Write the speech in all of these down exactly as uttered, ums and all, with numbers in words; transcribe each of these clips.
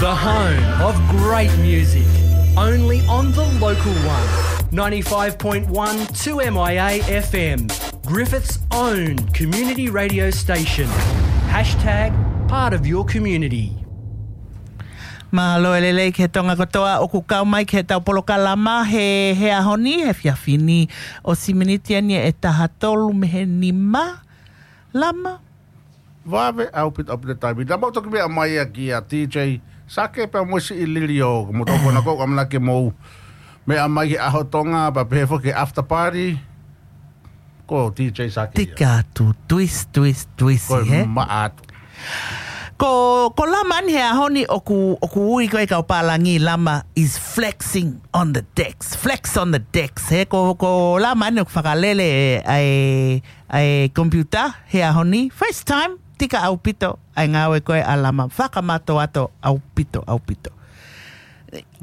The home of great music, only on the local one. Ninety-five point one two M I A F M, Griffith's own community radio station. Hashtag part of your community. Mālō e lelei ki he Tonga kotoa ʻoku kau mai ki heʻetau polokalama he, he ʻaho ni, he efiafi ni. ʻOsi miniti eni ʻe taha tolu mei he nima, Lama. Vave ʻaupito, ʻaupito taimi. Naʻa mau toki meʻa mai ia kia D J Sake pea mo siʻi Lilio, ko moutolu ko ena ʻoku ʻamanaki ke mou meʻa mai ki he ʻaho Tonga, pea pehē foki ki he after party. Ko D J Sake ia. Tika atu, twist, twist, twist, ko e he? Maʻa atu. Ko, ko Lama eni he ʻaho ni ʻoku, ʻoku ui ko e kau pālangi Lama is flexing on the decks. Flex on the decks. He ko, ko Lama eni ʻoku fakalele ʻa e, ʻa e computer he ʻaho ni. FaceTime, tika ʻaupito ʻa e ngāue ko ē ʻa Lama. Fakamātoato ʻaupito, ʻaupito.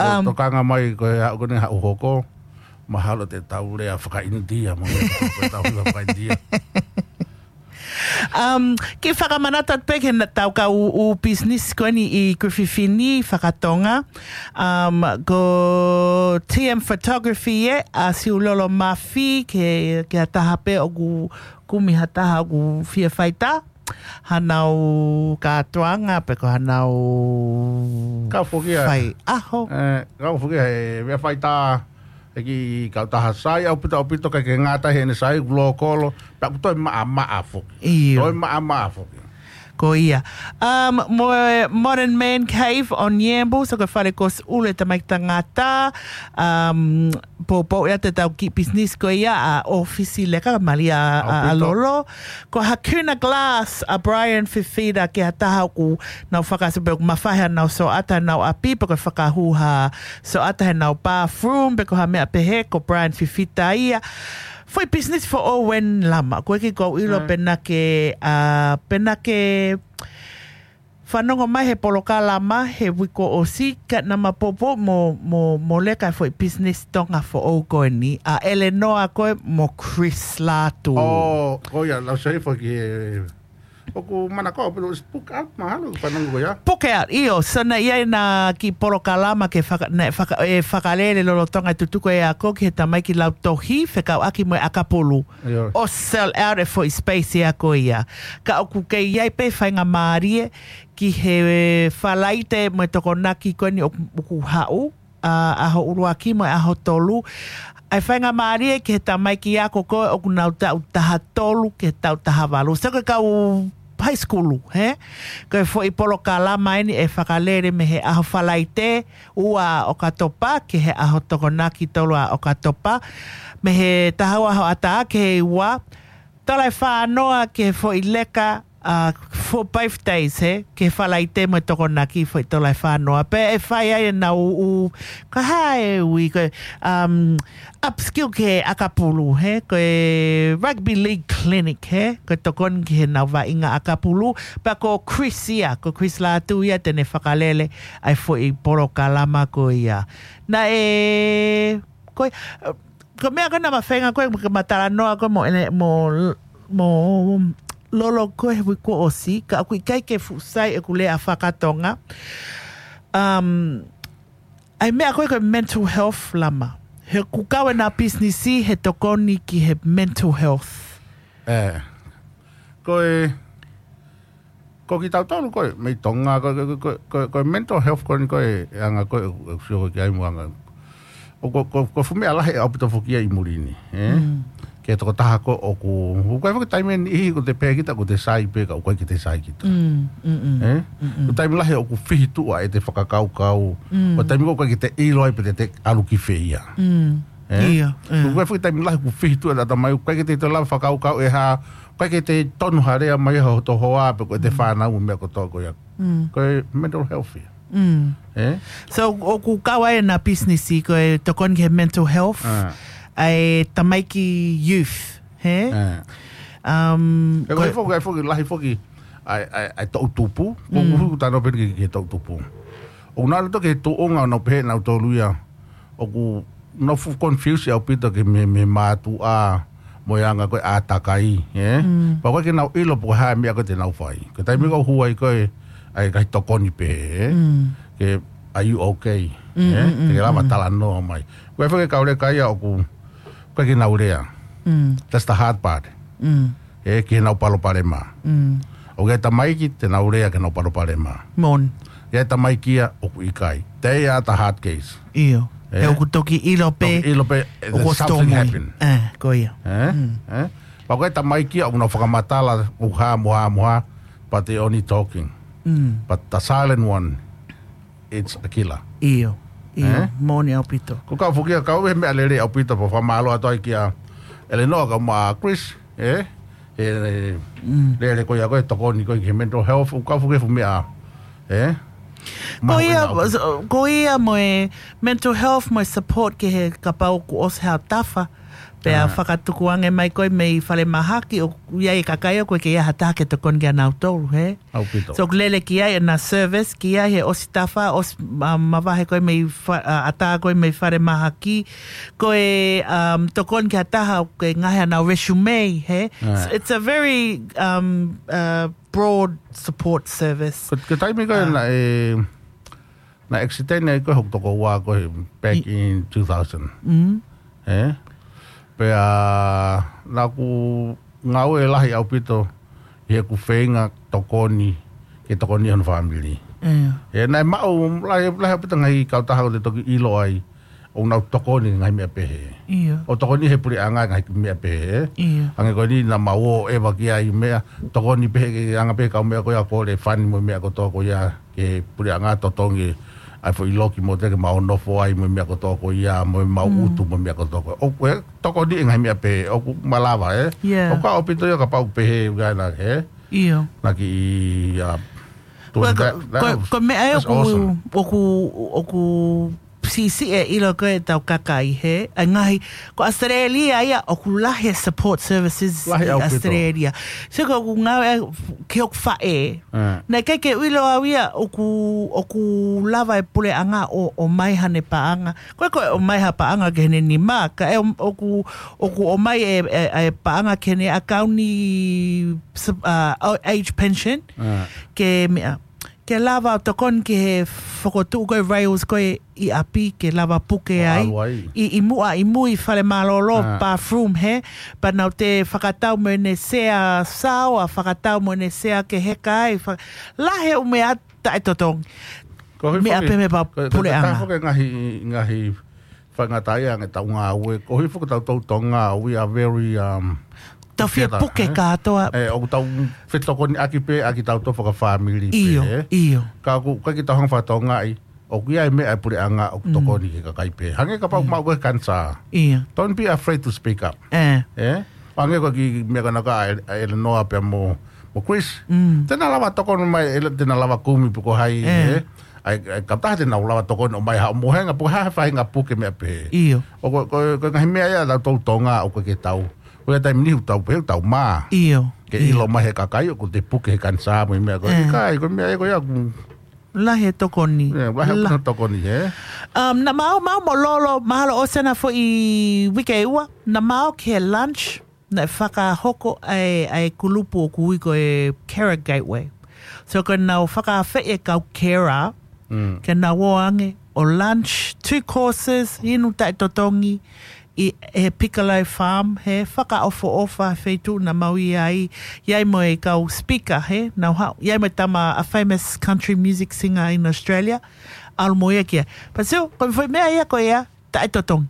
Um, tokanga mai ko e haʻu ko eni haʻu hoko. Mahalo te tau lea fakaʻInitia, mo e tau lea fakaʻInitia. Um, ke fakamanatu atu pē ki heʻetau kau ʻū business ko eni ʻi Griffith ni fakatonga. Um, ko T M Photography ē, ʻa Siulolo Mafi, ke, ke ʻi ai ha taha pē ʻoku kumi ha taha ʻoku fie fai ha, hanau kātoanga pe ko hanau Kau foki ia. Fai ʻaho. Eh, kau foki ia he meʻa fai tā, he kiʻi kautaha sai ʻaupito, ʻaupito ʻikai ke ngata heʻene sai, ʻoku lōkolo, pea ʻoku toe maʻamaʻa foki. ʻIo. Toe maʻamaʻa foki. Ko ia. Um, mo e Modern Man Cave on Yambo, so ko e fale kosi ʻulu ʻa e tamaiki tangata, um, poupou ia ʻetau kiʻi business ko ia ʻa ʻŌfisi Leka, Malia ʻa, ʻa, ʻaupito. Lolo. Ko Hakuna Glass ʻa Brian Fifita, ko ha taha ʻoku nau fakaʻosi pē ʻoku mafai haʻanau soʻata ʻi honau ʻapi, pe ko e fakahū ha soʻata ʻi honau bathroom, pe ko ha meʻa pehē, ko Brian Fifita ia. Foʻi business foʻou eni Lama, ko e kiʻi kau ʻilo Mm. pē naʻa ke, ʻa, pē naʻa ke fanongo mai he polokalama he uike kuo ʻosi, ka naʻa ma poupou mo, mo, mo Leka e foʻi business Tonga foʻou ko eni, ʻa Eleanor ko ē mo Chris Lātū. Oh, ko ia, lau sai foki he, ʻoku manako, pelo book out, mahalo, fanongo ko ia. Book out, ʻio, so naʻe ʻi ai ʻena kiʻi polokalama ke faka-, naʻe faka-, ʻe fakalele lolotonga e tutuku e ako ki he tamaiki lautohi, fekauʻaki mo e ʻakapulu. ʻIo. ʻO sell out e foʻi space ia ko ia. Ka ʻoku kei ʻi ai pē faingamālie ki he Falaite mo e Tokonaki ko eni ʻoku, ʻoku haʻu, ʻa, ʻaho ʻuluaki mo e ʻaho tolu. ʻA e faingamālie ki he tamaiki ako ko ē ʻoku nau taʻu taha tolu ki he taʻu taha valu. So ko e kau high school, he? Ko e foʻi polokalama eni ʻe fakalele mei he ʻaho Falaite, ua ʻOkatopa, ki he ʻaho Tokonaki, tolu ʻa ʻOkatopa. Mei he taha ua hoʻatā ki he ua, tola ʻe fā noa ki he foʻi Leka, ʻa, for both days, he? Ki he Falaite mo e Tokonaki foʻi tola ʻe fā noa. Pea ʻe fai ai ʻenau ʻū, ko e hā e ui, ko e, um, upskill ki he ʻakapulu, he? Ko e rugby league clinic, he? Ko e tokoni ki heʻenau vaʻinga ʻakapulu. Pea ko Chris ia, ko Chris Lātū ia te ne fakalele ʻa e foʻi polokalama ko ia. Naʻe, ko e, ko e meʻa ko ē naʻa ma feinga ko ē ke ma talanoa ko ē mo ʻene, mo, mo Lolo ko ē he uike kuo ʻosi, ka ʻoku ʻikai ke fuʻu sai ʻeku lea fakatonga. Um, ʻa e meʻa ko ē ko e mental health Lama. He ʻoku kau ʻena business he tokoni ki he mental health. ʻE. Ko e, ko kitautolu ko ē, mei Tonga, ko, ko, ko, ko, ko e mental health ko eni ko e, e anga ko ē, ʻe, ʻe sio ko ē ki ai mo anga. ʻO ko, ko, ko e fuʻu meʻa lahi ʻaupito foki ia ʻi muli ni, ē? Mm. Ki he tokotaha ko ē ʻoku, ʻoku ʻikai foki taimi ʻe niʻihi ʻoku te pehē kita ʻoku te sai pē ka ʻoku ʻikai ke te sai kita. Mm, mm, mm. Ē? Mm, mm. Ko e taimi lahi ʻoku fihi tuʻa ʻete fakakaukau. Mm. Ko e taimi ko ē ʻoku ʻikai ke te ʻilo ai pe te te ʻalu ki fē ia. Mm. Ē? ʻIo, ē. ʻOku ʻikai foki taimi lahi ʻoku fihi tuʻa ʻete ʻatamai, ʻoku ʻikai ke te te lava fakakaukau ʻe hā, ʻoku ʻikai ke te tonu ha lea mai ʻa hoto hoa, pe ko ʻete Mm. fānau mo e meʻa kotoa ko ia. Mm. Ko e mental health ia. Mm. Ē? So, ʻoku kau ai ʻena business ko e tokoni ki he mental health, Ah. ʻa e tamaiki youth, he? Ah. Um, He ko e ko foki, ʻa e foki, lahi foki, ʻa e, ʻa e, ʻa e toʻutupu, ko Mm. ʻeku tano pē ki, ki he toʻutupu. ʻOku nau ʻalu atu ki he tuʻunga ʻo nau pehē nautolu ia, ʻoku nau fuʻu confuse ʻaupito ki he, mei he mātuʻa mo e anga ko ē ʻātakai, ē? Mm. Pea ʻoku ʻikai ke nau ʻilo pe ko e hā e meʻa ko ē te nau fai. Ko e taimi Mm. ko ē ʻoku hū ai ko ē ʻa e ngaahi tokoni pē, ē? Mm. ke, are you okay? Mm, eh? Mm, mm, te ke lava talanoa mai. Ko e fē ke kau leka ia ʻoku, ko e ke nau lea. Mm. That's the hard part. Mm. Eh, ke nau palopalema. Mm. ʻOku ʻi ai e tamaiki, te nau lea ke nau palopalema. Mon. ʻI ai e tamaiki ia ʻoku ʻikai. They are the hard case. ʻIo. Eh? He ʻoku toki ʻilo pē. Toki ʻilo pē, eh, ʻoku there's ʻosi tō something mui. Happen. Eh, ko ia. Eh? Mm. Eh? Pea ko e tamaiki ia ʻoku nau fakamatala, ʻoku hā mo hā mo hā, but they only talking. Mm. But the silent one, it's a killer. ʻIo, ʻio, eh? Moʻoni ʻaupito. Ko kau fukia kau e meʻa lele ʻaupito, pea fakamālō atu ai kia Eleanor kae ʻumaʻā Chris, eh? E, mm, lele ko ia ko e tokoni ko e ki he mental health, ʻoku kau fukia fu meʻa, eh? Ko ia, ko ia mo e mental health mo e support ki he kapau kuo ʻosi hao tafa. Pea fakatukuange mai ko e mei falemahaki ʻoku ʻi ai e kakai ʻoku ʻikai ke ʻi ai ha taha ke tokoni kia nautolu, he? ʻAupito. So, ʻoku lele ki ai ʻena service, ki ai he ʻosi tafa, ʻosi, um, mavahe ko e mei fa-, uh, ʻatā ko e mei falemahaki, ko e, um, tokoni ki ha taha ʻoku ke ngaohi ʻenau resume, he? It's, it's a very, um, uh, broad support service. Ko, ko e taimi ko e naʻe, naʻe accident ai ko e hoku tokoua ko e back in two thousand. Mm. Eh? Pea naʻa ku ngāue lahi ʻaupito ʻi heʻeku feinga tokoni, ke tokoni hono fāmili. ʻIo. Eh, naʻe maʻu lahi, lahi ʻaupito ngaahi kautaha ʻoku te toki ʻilo ai, ʻoku nau tokoni ngaahi meʻa pehē. ʻIo. ʻO tokoni he puleʻanga ngaahi meʻa pehē, eh? ʻIo. Hangē ko eni naʻa mau ō ʻeva ki ai meʻa, tokoni pehē ke anga pehē kau meʻa ko ia ko e fund mo e meʻa kotoa ko ia ke puleʻanga totongi ai foʻi loki mo te ke mau nofo ai mo e meʻa kotoa ko ia, mo e mau ʻutu mo e meʻa kotoa ko ia. ʻOku tokoni e ngaahi meʻa pehē, ʻoku malava, eh? Yeah. ʻOku ʻaupito ia kapau pehē, ʻoku ʻi ai na, eh? ʻIo. Na ki, uh, doing that, that was, that's awesome. Ko, ko, ko e meʻa ia ʻoku, ʻoku, ʻoku siʻisiʻi e ʻilo ko e tau kakai he, ʻa e ngaahi, ko ʻAositelēlia ia ʻoku lahi e support services ʻi ʻAositelēlia. Lahi ʻaupito. So ko ʻeku ngāue ki hoku faʻē. Eh. Naʻe ʻikai ke u ʻilo au ia ʻoku, ʻoku lava e puleʻanga ʻo, ʻomai haʻane paʻanga. Ko e ko e ʻomai ha paʻanga ki heʻene nima, ka ʻe ʻoku, ʻoku ʻomai e, e, e paʻanga ki heʻene ʻakauni, uh, age pension, ke meʻa. Ke lava ʻo tokoni ki he fokotuʻu ko e rails ko e ʻi ʻapi, ke lava puke ai. ʻO ʻalu ai. ʻI, ʻi muʻa, ʻi mui fale mālōlō, bathroom, he? Pea nau te fakatau mo ʻene sea saoa, fakatau mo ʻene sea ke heka ai, fa-, lahi e ʻū meʻa taʻetotongi. Meʻa pē meʻa pea puleʻanga. Ko e, ko e, ko e taha foki e ngaahi, ngaahi faingataʻaʻia ange ʻetau ngāue. Koeʻuhi foki ʻoku tau tau Tonga, we are very, um, tau fie puke kātoa. Eh, ʻoku tau fetokoniʻaki pē ʻaki ʻetau tau fakafāmili pē, eh? ʻIo, ʻio. Ka ʻoku, ka ʻikai ke tau hanga fakatokangaʻi, ʻoku ʻi ai e meʻa e puleʻanga ʻoku tokoni ki he kakai pē. Hangē kapau ʻoku maʻu koe kanisā. ʻIo. Don't be afraid to speak up. Eh. Eh? Hangē ko e kiʻi meʻa ko ena ʻa Ele-, ʻa Eleanor pea mo, mo Chris. Mm. Te na lava tokoni mai, ele-, te na lava kumi pe ko hai, eh? ʻA e, ʻa e kautaha te na lava tokoni ʻomai haʻo mohenga, pe ko e hā ha faʻahinga puke meʻa pehē. ʻIo. ʻO ko, ko, ko e ngaahi meʻa ia ʻetau tau Tonga ʻoku ʻikai ke tau. Ko e taimi ni ʻoku tau pehē ʻoku tau mā. ʻIo. Ke ʻilo mai he kakai ʻoku te puke he kanisā mo e meʻa ko e. ʻIkai, ko e meʻa ia ko ia ʻoku lahi e tokoni. Yeah, lahi e tokoni, eh? Um, naʻa mau, mau mo Lolo, mahalo ʻosi ʻena foʻi uike ʻe ua, naʻa mau ki he lunch, naʻe fakahoko ʻa e, ʻa e kulupu ʻoku ui ko e Carer Gateway. So ko ʻenau fakaafeʻi e kau carer, ke nau ō ange ʻo lunch, two courses, inu taʻetotongi, ʻi he Piccolo Farm, he fakaʻofoʻofa feituʻu naʻa mau ʻi ai, ʻi ai mo e kau speaker, he, nau haʻu, ʻi ai mo e tama a famous country music singer in Australia, ʻalu mo ia ki ai. Pea sio, ko e foʻi meʻa ia ko ia, taʻetotongi.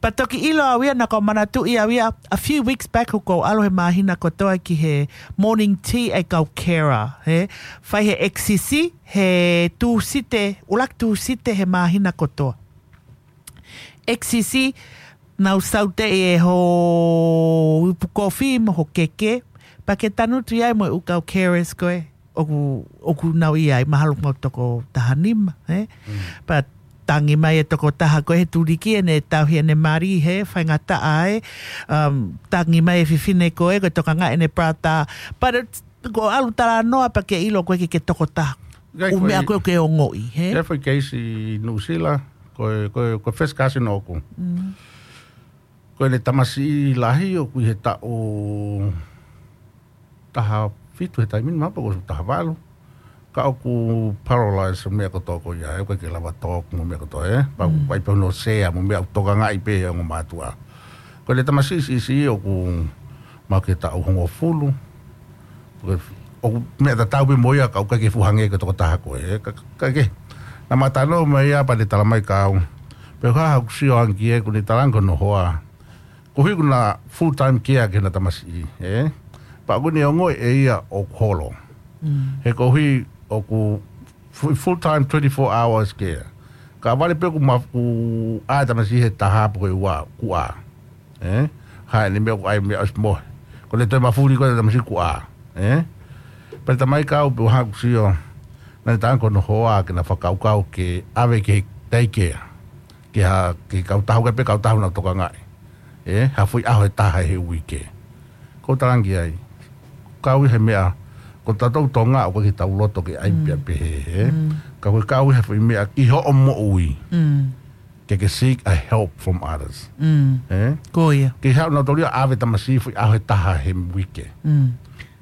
Pea toki ʻilo au ia, naʻa ku manatuʻi au ia, a few weeks back, ʻoku ou ʻalu he māhina kotoa ki he morning tea ʻa e kau carer, he, fai he X C C, he Tūsite, ʻuluaki Tūsite he māhina kotoa. X C C, nau saute e ho ipu kofi mo ho keke, pea ke tangutu ʻi ai mo e ʻū kau carers ko ē, ʻoku, ʻoku nau ʻi ai, mahalo ʻoku nau toko taha nima, eh? Mm. Pea tangi mai e toko taha ko ē he tuliki ʻene tauhi ʻene mali, he faingataʻa ē, um, tangi mai e fefine ko ē, ko e tokangaʻi ʻene brata, but it's, ko e ʻalu talanoa pea ke ʻilo ko ē ke, ke toko taha. ʻIkai ʻū meʻa ko ē ke ongoʻi, he? ʻIkai foʻi keisi ʻi Nuʻusila, ko e, ko e, ko e first cousin ʻoʻoku. Mm. Ko ʻene tamasiʻi lahi ʻoku ʻi he taʻu taha fitu he taimi ni, mahalo pē ko e taha valu. Ka ʻoku paralyze mo e meʻa kotoa ko ia, ʻe ʻikai ke lava talk mo e meʻa kotoa, ē? Pea ʻoku ʻi ai pē hono sea mo e meʻa ʻoku tokangaʻi pē ʻe he ongo mātuʻa. Ko e tamasiʻi siʻisiʻi ʻoku maʻu ki he taʻu hongofulu. Ko e, ʻoku meʻa tatau pē mo ia ka ʻoku ʻikai ke fuʻu hangē ko e tokotaha ko ē, ē? Ka, ka ke. Naʻá ma talanoa mo ia pea ne talamai kia au. Pea ko e hā hoku sio ange ki ai, ʻokú ne talaange ko hono hoa. Koeʻuhi ʻokú na full time care ki heʻena tamasiʻi, ē? Pea ʻokú ne ongoʻi ʻe ia ʻoku holo. He koeʻuhi ʻoku fu-, full time twenty-four hours care. Ka ʻoku vale pē ʻoku ma-, ʻoku ʻā e tamasiʻi he taha pe ko e ua, kuo ʻā. Ē? Hā ʻene meʻa ʻoku ʻai meʻa ʻosi mohe. Ko ʻene toe mafuli ko e tamasiʻi kuo ʻā. Ē? Pea ne talamai kia au pea u hanga ʻo sio. Naʻá ne talaange ko hono hoa ke na fakakaukau ke ʻave ki he daycare. Ke ha, ke kautaha, ʻikai pē kautaha ʻoku nau tokangaʻi. Ē, ha foʻi ʻaho ʻe taha he uike. Ko u talaange ai. Kau ʻi he meʻa, ko tautolu Tonga ʻoku ʻikai ke tau loto ke ʻai pē ia pehē, ē. Ka ko e kau ʻi he foʻi meʻa ki hoʻo moʻui. Ke ke seek a help from others. Ē? Ko ia. Ke haʻu nautolu ia ʻo ʻave tamasiʻi foʻi ʻaho ʻe taha he uike.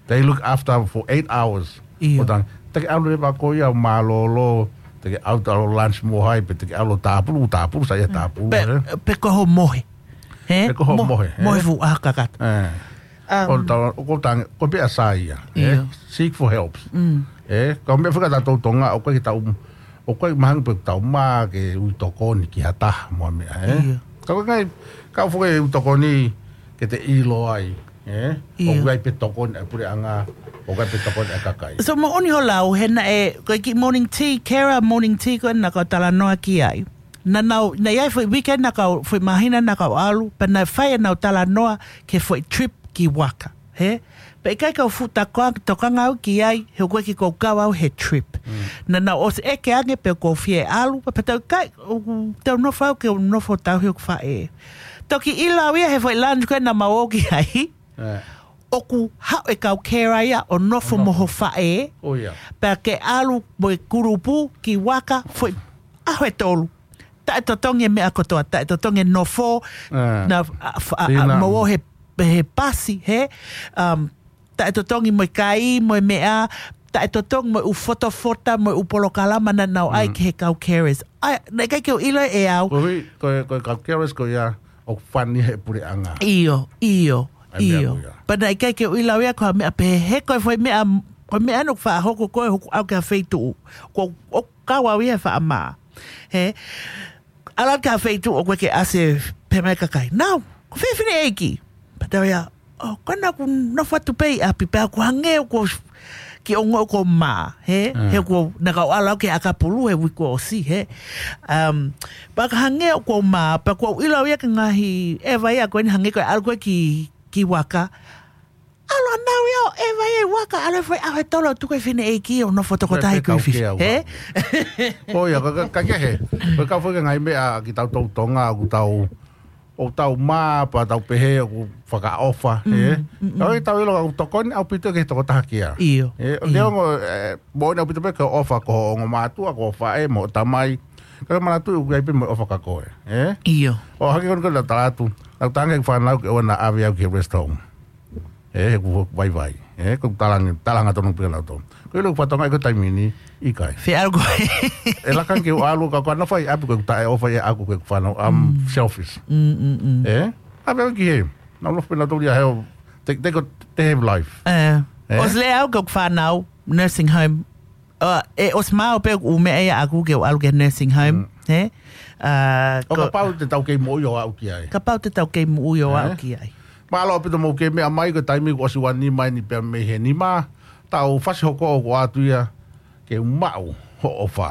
They look after for eight hours. ʻIo. ʻO talaange, te ke ʻalu leva koe ia ʻo mālōlō, te ke ʻalu ʻo lunch mo hai, pe te ke ʻalu ʻo tāpulu, tāpulu, sai ia tāpulu, pe, ē? Pe ko hoʻo mohe. He? Pe ko hoʻo Mo-, mohe, mohe ē? Fuʻu ʻaho kakato. Ē. Um, ʻO tala-, ʻoku ou talaange, ko e meʻa sai ia, ē? ʻIo. Seek for help. Ē? Ka ko e meʻa fika tautolu Tonga, ʻoku ʻikai ke tau, ʻoku ʻikai mahanga pē ʻoku tau mā ke ui tokoni ki ha taha mo ha meʻa, ē? ʻIo. Ka ko e ngaahi, ka ʻoku foki e ui tokoni ke te ʻilo ai. Ē? ʻIo. ʻOku ʻi ai pē tokoni ʻa e puleʻanga, ʻoku ʻi ai pē tokoni ʻa e kakai. So, moʻoni hoʻo lau, he naʻe, ko e kiʻi morning tea, Kara morning tea ko ē naʻá ke talanoa ki ai. Naʻa nau, naʻe ʻi ai foʻi weekend naʻa kau, foʻi māhina naʻa kau ʻalu, pea naʻe fai ʻenau talanoa ki he foʻi trip ki Waka, he? Pea ʻikai ke u fuʻu tokanga, tokanga au ki ai, he ʻoku ʻikai ke u kau au he trip. Naʻa nau ʻosi ʻeke ange pe ʻoku ou fie ʻalu, pea pehē atu ʻikai, ʻoku te u nofo au ke u nofo tauhi hoku faʻē. Toki ʻilo au ia he foʻi lounge ko ē naʻa mau ō ki ai. ʻOku haʻu e kau Kara ia ʻo nofo mo ho faʻē. ʻO ia. Pea ke ʻalu mo e kulupu ki Waka foʻi ʻaho ʻe tolu. Taʻe totongi e meʻa kotoa, taʻe totongi e nofo, na, a, fa-, a, a, mo ō he, he pasi, he, um, taʻe totongi mo e kai, mo e meʻa, taʻe totongi mo e ʻū fotofota, mo e ʻū polokalama naʻa nau ʻai ki he kau carers. ʻAi, naʻe ʻikai ke u ʻilo ʻe au. Ko e, ko e, ko e kau carers ko ia ʻoku fund ia he puleʻanga. ʻIo, ʻio, ʻio. Pea naʻe ʻikai ke u ʻilo ia ko ha meʻa pehē, he ko e foʻi meʻa, ko e meʻa naʻe fakahoko ko ē hoku ʻalu ki ha feituʻu. Ko, ʻoku kau au ia he faʻa mā. He, ʻalu ki ha feituʻu ʻoku ʻikai ke ʻasi pē mai kakai. Nau, ko fē fineʻeiki? Pea tau ia, ʻo, ko ena ʻoku nofo atu pē ʻi ʻapi pea ʻoku hangē ʻoku kiʻi ongo ʻoku mā, he? He ʻoku, naʻa kau ʻalu au ki he ʻakapulu he uike kuo ʻosi, he? Um, pea ka hangē ʻoku mā, pea ʻoku ou ʻilo au ia ki he ngaahi ʻeva ia ko eni hangē ko e ʻalu ko ē ki, ki Waka. ʻAlu ʻa nau ia ʻo ʻeva ia ʻi Waka, ʻalu e foʻi ʻaho ʻe tolu ʻo tuku e fineʻeiki ʻo nofo tokotaha ʻi Griffith. He? ʻO ia, ka, ka, ka kehe. Ko e kau foki e ngaahi meʻa ki tautolu Tonga, ʻoku tau, ʻoku tau mā, pea tau pehē, ʻoku fakaʻofa, he? Ka ʻoku tau ʻilo, ʻoku tokoni ʻaupito ki he tokotaha kia. ʻIo, ʻio. Neongo, ē, moʻoni ʻaupito pē ke ʻofa ki hoʻo ongo mātuʻa, ki hoʻo faʻē, mo hoʻo tamai. Ka ke manatuʻi ʻoku ʻi ai pē mo e ʻofa kia koe, ē? ʻIo. ʻO hangē ko eni ko ena tala atu, naʻá ku talaange ki he fānau ke ʻoua naʻa ʻave au ki he rest home. Ē, he ʻoku vaivai. Ē, ko e talaange, talaange tonu pē kia nautolu. Ko e ʻilo ʻoku fatongia ko e taimi ni, ʻikai. Fē ʻalu koe? ʻE laka ange ke u ʻalu ka ko ena fai ʻapi ko e taʻeʻofa ia ʻaʻaku ko e fānau, I'm selfish. Ē? ʻAve au ki hē. Nau lofa pē nautolu ia he ʻo, they, they got, they have life. Ē. Ē? ʻOsi lea au ki hoku fānau, nursing home. ʻO, ʻe ʻosi maʻu pē ʻū meʻa ia ʻaʻaku ke u ʻalu ki he nursing home, he? ʻO kapau te tau kei moʻui ʻo aʻu ki ai. Kapau te tau kei moʻui ʻo aʻu ki ai. Mālō ʻaupito mou kei meʻa mai ko e taimi kuo ʻosi ua nima eni pea mei he nima. Tau fasi hoko ʻo ʻoatu ia ke u maʻu hoʻo ʻofa.